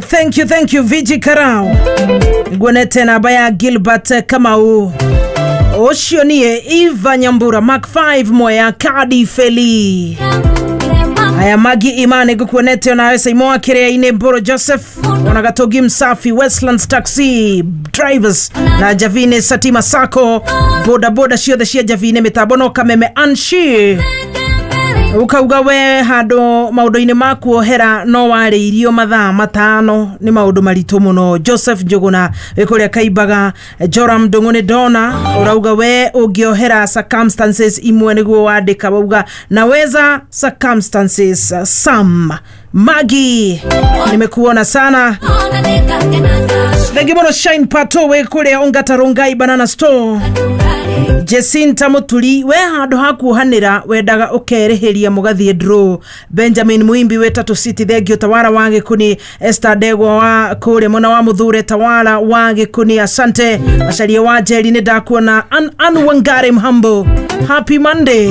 Thank you, thank you, Viji Karau. Nguonete namba ya Gilbert Kamau. Ũcio niĩ Eva Nyambura, Mark 5 Mwea Kadi Feli. Aya, Magi Imani, ngukuonete onawe. Saimoa Kiria-inĩ, Mboro Joseph, ona Gatogi Msafi, Westlands Taxi Drivers na Javine Satima Sacco, boda boda ciothe cia Javine, mitambo no Kameme Anshi. Ukauga we handå maå-ndå-inä ma kuohera no warä irio mathaa 5 nä maå ndå maritå må no. Joseph Njuguna wä kå rä a Kaimbaga. Joram Ndång'å nä ndona ũrauga we ũngĩohera circumstances imwe, nĩguo wandĩka, wauga naweza circumstances. Sam Magi, nimekuona sana, thengi mũno. Shine Pato wĩ kũrĩa Ongata Rongai Banana Store. Jacinta Muturi, we handå ha kuohanĩra wendaga ũkerĩhĩria mũgathiĩ draw. Benjamin Muimbi wĩ Tatu City, thengio. Tawara wa Gĩkuni, Esther Ndegwa wa kũrĩa mwena wa Mũthure, Tawara wa Gĩkuni, asante. Macaria wa Njeri, nĩ ndakuona. An Wangari Mhambo, happy Monday.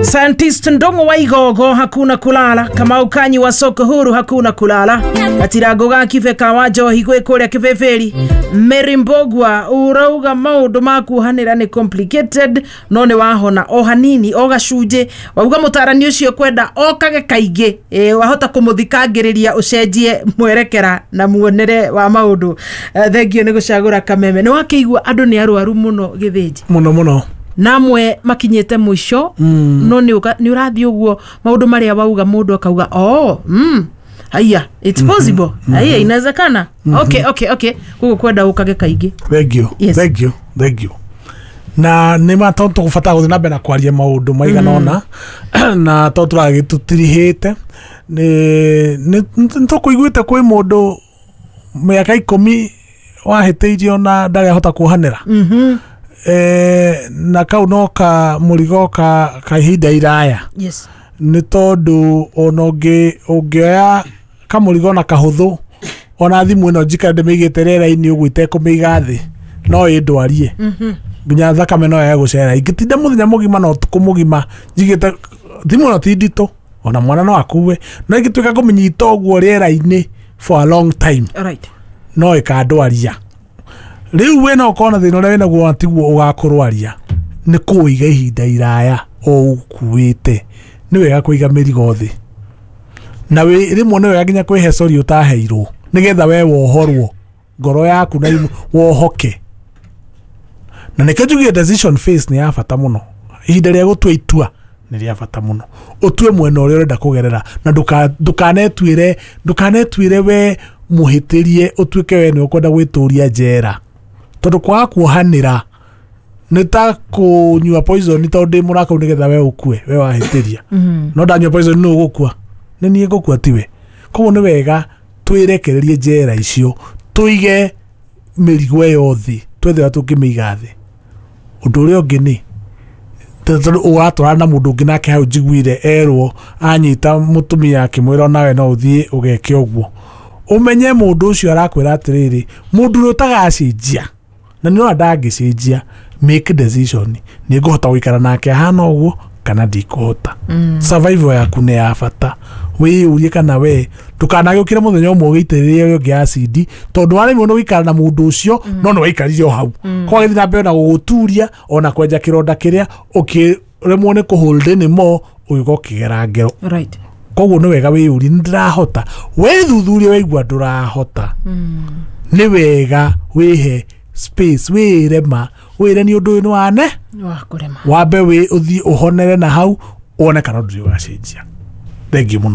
Scientist Ndongo wa Igogo, hakuna kulala. Kamau Kanyi wa soko huru, hakuna kulala. Gatirango ga Kibeka wa Njohi gwĩ kũrĩa Kĩbĩbĩri. Mary Mbogwa, urauga maũndũ ma kuohanĩra nĩ complicated, no nĩ wahona o hanini o gacunjĩ. Wauga mũtarani ũcio kwenda okage kaingĩ, wahota kũmũthikangĩrĩria ũcenjie mwerekera na muonere wa maũndũ. Thengio nĩ gũcagũra Kameme. Nĩ wakĩigua andũ nĩ arwaru mũno, Gĩthĩnji. Muno muno. Namwe makinyĩte mũico, no nĩ ũrathiĩ ũguo maũndũ marĩa wauga, mũndũ akauga, "Oh, haiya, it's possible, haiya, inawezekana." Okay, koguo kwenda ũkage kaingĩ. Thank you. Yes. Thank you, thank you. Na nĩ ma tondũ tũgũbatara gũthiĩ na mbere na kwaria maũndũ maigana ũna, na tondũ tũragĩtũtirihĩte nĩ tũkũiguĩte kwĩ mũndũ mĩaka 10 wahĩtĩirio na ndarĩ ahota kuohanĩra. Na kau no ka mũrigo ka ihinda iraya, nĩ tondũ ona ũngĩoya kamũrigo na kahũthũ, ona thimũ ĩno njikare ndĩmĩigĩte rĩera-inĩ ũguo itekũmĩiga thĩ, no ĩndwarie nginya thakame no yage gũcera. Ingĩtinda mũthenya mũgima na ũtukũ mũgima njigĩte thimũ ĩno, ti nditũ, ona mwana no akue, no ingĩtuĩka kũmĩnyita ũguo rĩera-inĩ for a long time, no ĩkandwaria. Rĩu we no ũkorwo na thĩna ũrĩa wĩnaguo, tiguo ũgakũrwaria, nĩ kũũiga ihinda iraya o ũkuĩte. Nĩ wega kũiga mĩrigo thĩ, na rĩmwe nĩ wega nginya kwĩhe sorry ũtaheirwo, nĩgetha we wohorwo ngoro yaku na wohoke. Na nĩkĩo njugire decision phase nĩ ya bata mũno. Ihinda rĩa gũtua itua nĩ rĩa bata mũno, ũtue mwena ũrĩa ũrenda kũgerera, na ndũkanetuĩre we mũhĩtĩrie, ũtuĩke we nĩ ũkwenda gwĩtũria njera, tondũ kwaga kuohanĩra nĩ ta kũnyua poison tondũ ndĩ mũrakau nĩgetha we ũkue, we wahĩtĩria. No ndanyua poison, nũ ũgũkua? Nĩ niĩ ngũkua, tiwe. Koguo nĩ wega twĩrekererie njera icio, tũige mĩrigo ĩyo thĩ, twethe ũrĩa tũngĩmĩiga thĩ. Ũndũ ũrĩa ũngĩ nĩ tondũ ũratwarana na mũndũ ũngĩ, nake hau njiguire erwo anyita mũtumia akĩmwĩra onawe no ũthiĩ ũgeke ũguo. Ũmenye mũndũ ũcio arakwĩra atĩrĩrĩ, mũndũ ũrĩa ũtagacenjia, na nĩ ũrona ndangĩcenjia, make decision: nĩ ngũhota gũikara nake ahana ũguo kana ndikũhota? Survival yaku nĩ ya bata. Wĩyũrie kana we ndũkanagĩũkĩre mũthenya ũmwe ũgĩitĩrĩrie ũrĩa ũngĩ acidi, tondũ waremwo nĩ gũikara na mũndũ ũcio, no nĩ waikarire o hau, kwa gĩthiĩ na mbere na gũgũturia ona kwenja kĩronda kĩrĩa ũkĩremwo nĩ kũhold anymore, ũgĩũka ũkĩgera ngero. Koguo nĩ wega wĩyũrie, nĩ ndĩrahota? Wĩthuthurie, waigua ndũrahota, nĩ wega wĩhe space, wĩre ma, wĩre nĩ ũndũ ũyũ nĩ wane wa kũrema. Wambe wĩ ũthiĩ ũhonere na hau wone kana ũndũ ũyũ ũgacenjia. Thengiũ mũno.